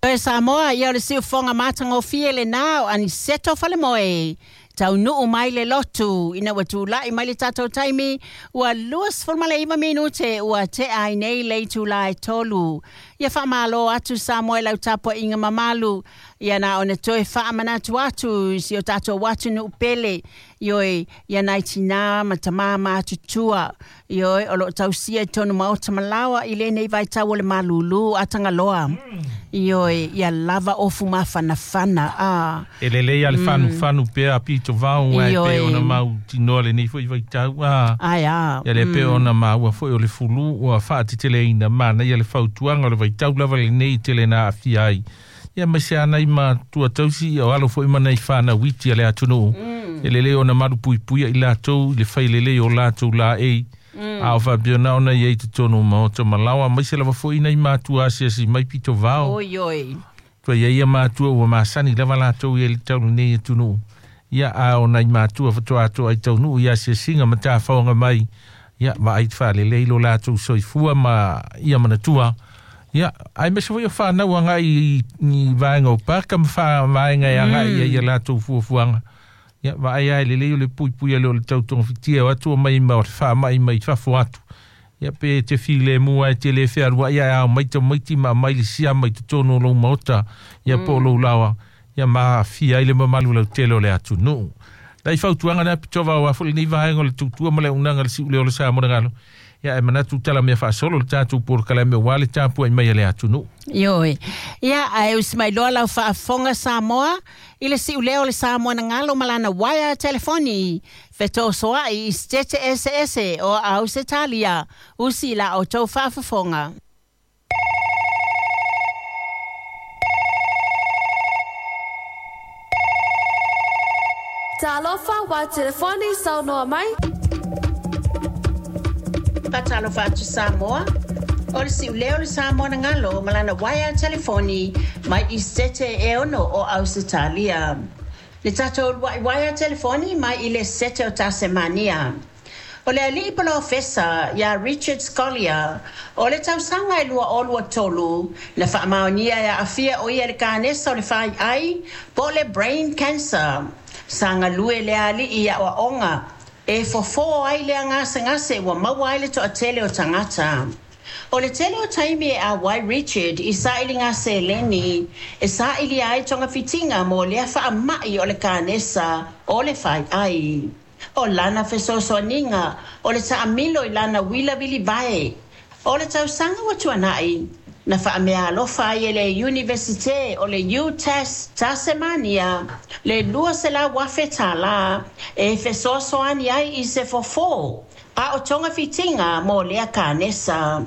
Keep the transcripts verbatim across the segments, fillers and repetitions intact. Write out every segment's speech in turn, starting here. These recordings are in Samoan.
Toe Samoa, ia o le siufoga matagofie lenā o Aniceto Falemoe. Taunuu mai le lotu ina ua tula'i mai le tatou taimi ua luasefulumalaiva minute ua te'a ai nei le itulā e tolu. Ia faamālō atu Samoa i lau tapua'iga mamalu. Ia na ona toe faamanatu atu i si o tatou atunuu pele. Ioe, ia nai tinā ma tamā matutua. Ioe, o loo tausia i tonu maota malaoa i lenei vaitau o le malūlū a Tagaloa. Ioe, ia lava ofu mafanafana. Ah. E lelei a le fanufanu pea pito vao e Ioe. Pe ona mautinoa lenei fo'i vaitau a. Ai a. Ia le pe ona maua fo'i o le fulu ua faateteleina manaia le fautuaga o le vaitau lava lenei tele na aafia ai. Ia maise ana i matua tausi ia o alo fo'i ma nai fanauiti a le atunuu. E lelei ona malupuipuia i latou i le failelei o latou laei. A o faapena ona iai totonu o maota malaoa maise lava fo'i nai matua asiasi mai pito vao. Oi oi. Tua ia ia matua ua masani lava latou ia le tau lenei atunuu. Ia a o nai matua fatoa atoa ai taunuu i asiasiga ma tafaoga mai. Ia vaai faalelei lo latou soifua ma ia manatua. Ia ai mese foi o whanau anga i, i vaenga o paka ma wha vaenga e anga i ia latou fuafuaga. Ia vaai ai lelei o le puipui ale o le tautogafitia o atu o mai ma o le faama'i mai fafo atu. Ia pe te filemu ai te le fealua'i ae ao mai tamaiti ma aumai le siama i totonu o lou maota. Ia po o lou laoa. Ia ma aafia ai le mamalu lautele o le atunuu. Lai fautuaga na pitova o afo lenei vaega o le tautua ma le auaunaga le si'ulea o le Samoa le galo. Ia e manatu tala mea faasolo le tatou polokalame auā le tapua'i mai a le atunuu. Ioe. Ia, ae usi mai loa lau faafofoga Samoa i le si'ulea o le Samoa na galo ma lana uaea telefoni. Fetosoa'i i Setete Eseese o Ausetalia. Usi la outou faafofoga. Talofa wa telefoni saunoa mai. Faatalofa atu Samoa. O le si'ulea o le Samoa na galo ma lana uaea telefoni mai i Setete e ono o Ausetalia. Le tatou ulua'i uaea telefoni mai i le Sete o Tasemania. O le alii polofesa iā Richard Scolyer o le tausaga e lua o lua tolu na faamaonia e aafia o ia le kanesa o le faiai po o le brain cancer. Sa galue le alii i aʻoaʻoga e fofō ai le gasegase ua maua ai le toʻatele o tagata. O le tele o taimi e auai Richard i saʻiliga seleni e saʻilia ai togafitiga mo lea faamaʻi o le kanesa o le faiai. O lana fesoasoaniga o le taʻamilo i lana uila vilivae. O le tausaga ua tuanaʻi na faamea alofa ai e le Iunivesite o le UTAS Tasemania le lua selau afe tālā e fesoasoani ai i se fofō a o togafitiga mo lea kanesa.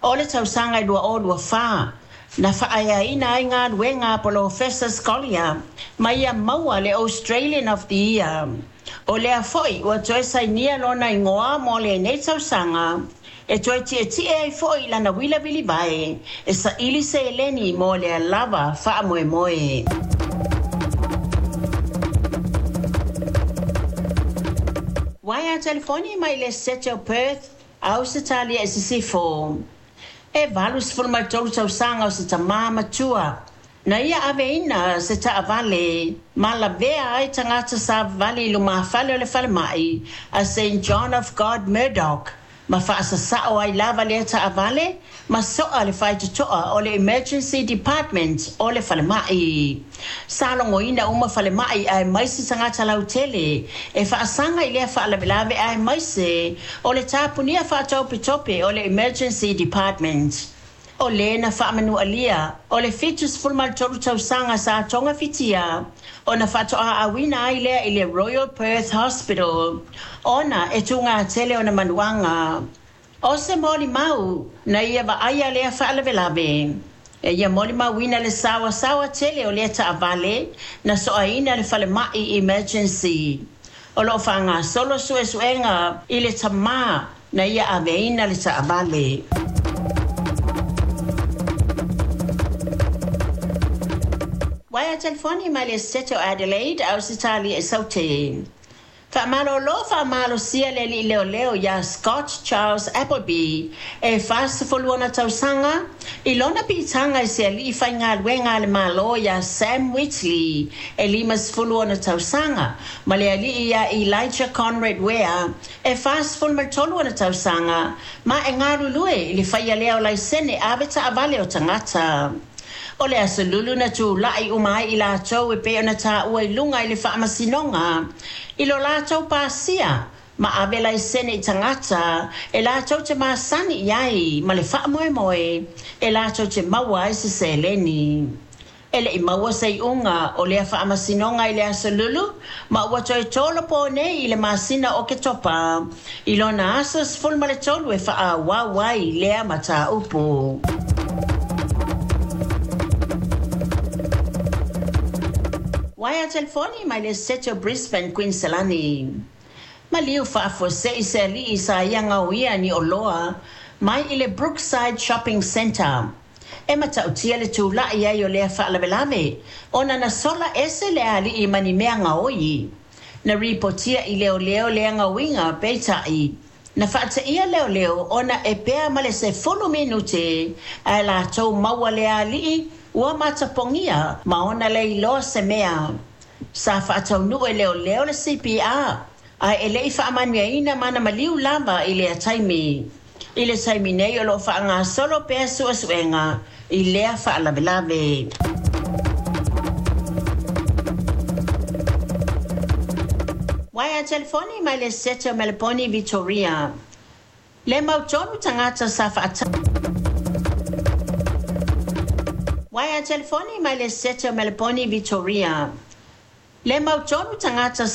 O le tausaga i lua o lua fā na faaeaina ai galuega a Polofesa Scolyer ma ia maua le Australian of the Year. O lea fo'i ua toe sainia lona igoa mo lenei tausaga e toe tietie ai fo'i lana uila vilivae e saʻili seleni mo lea lava faamoemoe. Uaea telefoni mai le Sete o Perth, Ausetalia i Sisifo. E valu sefulu ma le tolu tausaga o se tamā matua. Na ia aveina se taʻavale ma lavea ai tagata savavali i lumafale o le falemaʻi a Saint John of God Murdoch ma faasasao ai lava lea taʻavale ma soʻa le faitotoa o le Emergency Department o le falemaʻi. Sa logoina uma falemaʻi aemaise tagata lautele e faasaga i lea faalavelave aemaise o le tapunia faatopetope o le Emergency Department. O lē na faamanualia o le fitu sefulu ma le tolu tausaga sa togafitia ona faatoʻaʻauina ai lea i le Royal Perth Hospital ona e tugatele ona manuaga. O se molimau na ia vaaia lea faalavelave. E ia molimauina le saoasaoa tele o lea taʻavale na soʻaina le falemaʻi emergency. O loo faagasolo suesuega i le tamā na ia aveina le taʻavale. Uaea telefoni mai le Sete o Adelaide, Ausetalia i Saute. Faamalolo faamalosia le alii leoleo iā Scott Charles Appleby e fasefulu ona tausaga i lona piitaga i se alii faigaluega a le Mālō iā Sam Whitley e limasefulu ona tausaga ma le alii iā Elijah Conrad Ware e fasefulu ma le tolu ona tausaga ma e galulue i le faia lea o laisene ave taavale o tagata. O le Aso Lulu na tula'i uma ai i latou e pei ona tāua i luga i le faamasinoga i lo latou pasia ma ave laisene i tagata e latou te masani i ai ma le faamoemoe e latou te maua ai se seleni. E le'i maua se iʻuga o lea faamasinoga i le Aso Lulu ma ua toe tolopo nei i le masina o Oketopa i lona aso sefulu ma le tolu e faaauau ai lea mataupu. Waea telefoni mai le Sete o Brisbane, Queensland. Maliu faafuasei se alii sa ia gaoia ni oloa mai i le Brookside Shopping Centre. E matautia le tula'i ai o lea faalavelave ona na sola ese le alii ma ni mea gaoi. Na ripotia i leoleo lea gaoiga peitai. Na faateia leoleo ona e pea ma le sefulu minute ae latou maua le alii ua matapogia ma ona le iloa se mea. Sa faataunuu e leoleo le C P R ae e le'i faamanuiaina mana maliu lava i lea taimi. I le taimi nei o loo faagasolo pea suesuega i lea faalavelave. Waea telefoni mai le Sete o Meleponi, Victoria. Le mautonu tagata sa faata. Waea telefoni mai le Sete o Meleponi, Victoria. Le mautonu tagata sa